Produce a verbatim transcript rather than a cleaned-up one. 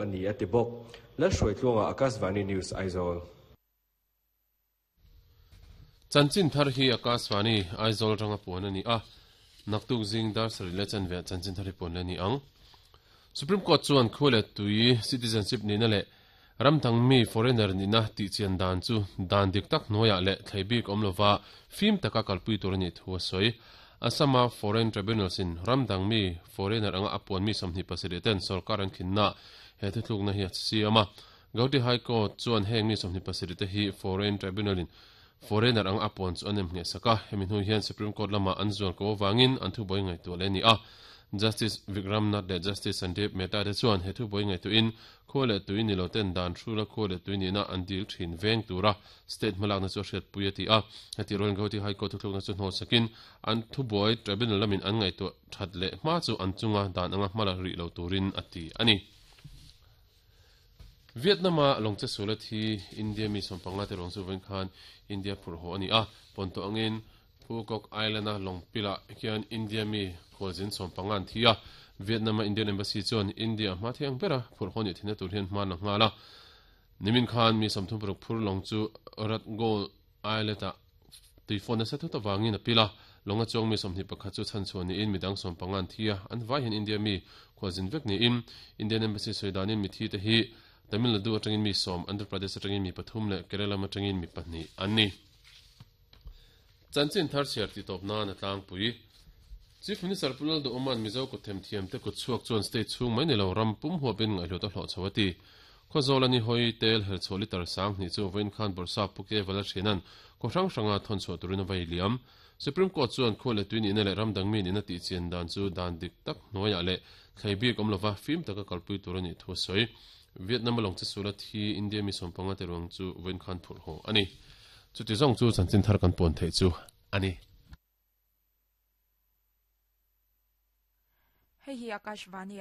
a ni a ti bawk. Lalhruaitluanga, Akashvani News, Aizawl. Chanchin thar hi Akashvani Aizawl ranga puan ani a. Naktuk zing dar sarih leh chanve chanchin thar hi puan le ni ang. Supreme Court chuan khua leh tui citizenship nihna leh ramdang mi foreigner nihna tih chian dan chu dan dik tak hnuaiah leh thlei bik awm lova fim taka kalpui tur a nih thu a sawi. Assama Foreign Tribunals in ramdang mi foreigner anga a puan mi sawmhnih pasarih ten sorkar an khinna he thuthlukna hi a siam a. Gauhati High Court chuan heng mi sawmhnih pasarih te hi Foreign Tribunal in foreigner anga a puan chu an em ngheh sak a. Hemi hnu hian Supreme Court lama an zual ko avangin an thubuai ngaihtuah leh a ni a. Justice Vikram Nath leh Justice Sandeep Mehta te chuan he thubuai ngaihtuahin khua leh tui ni lo ten dan hrula khua leh tui nihna an dil thin veng tura state hmalakna chu a hriatpui a ti a. Heti rualin Gauhati High Court thuthlukna chu hnawl sakin an thubuai tribunal lamin an ngaihtuah that leh hma chu an chunga dan anga hmala rih lo turin a ti a ni. Vietnam-a lawngche suala thi India mi sawmpanga te ruang chu vawiin khan India phurh haw a ni a. Pawnto angin Phu Quoc Island-a lawngpilah hian India mi khualzin sawmpanga an thi a. Vietnam-a Indian Embassy chuan India hma thiang bera phurh haw nih theihna tur hian hma la nghal a. Nimin khan mi sawmthum paruk phur lawng chu Rat Gold Islet-ah tuifawn nasa thut avangin a pil a. Lawnga chuang mi sawmhnih pakhat chu chhanchhuah niin midang sawmpanga an thi a. An vai hian India mi khualzin vek niin Indian Embassy sawi danin mithi te hi Tamil Nadu atangin mi sawm, Andhra Pradesh atangin mi pathum leh Kerala atangin mi pahnih an ni. Chanchin thar chhiar tih tawp nan a tlangpui. Chief Minister Pu Lalduhawma'n Mizo kut themthiam te kut chhuak chuan state chhung mai ni lo ram pum huapin ngaihhlut a hlawh chho a ti. Khawzawl a ni hawi tel herchhuah litre sang hnih chu vawiin khan Bawrhsap Pu Ke Valalhriana'n khaw hrang hranga thawn chhuah turin a vai liam. Supreme Court chuan khua leh tui nihna leh ram dang mi nihna tih chian dan chu dan dik tak hnuaiah leh thlei bik awm lova fim taka kalpui tur a nih thu a sawi. Vietnam a lawngche sula thi India mi sawmpanga te ruang chu vawiin khan phurh haw a ni. Chuti zawng chu chanchin thar kan puan theih chu a ni. Hei hi Akashvani.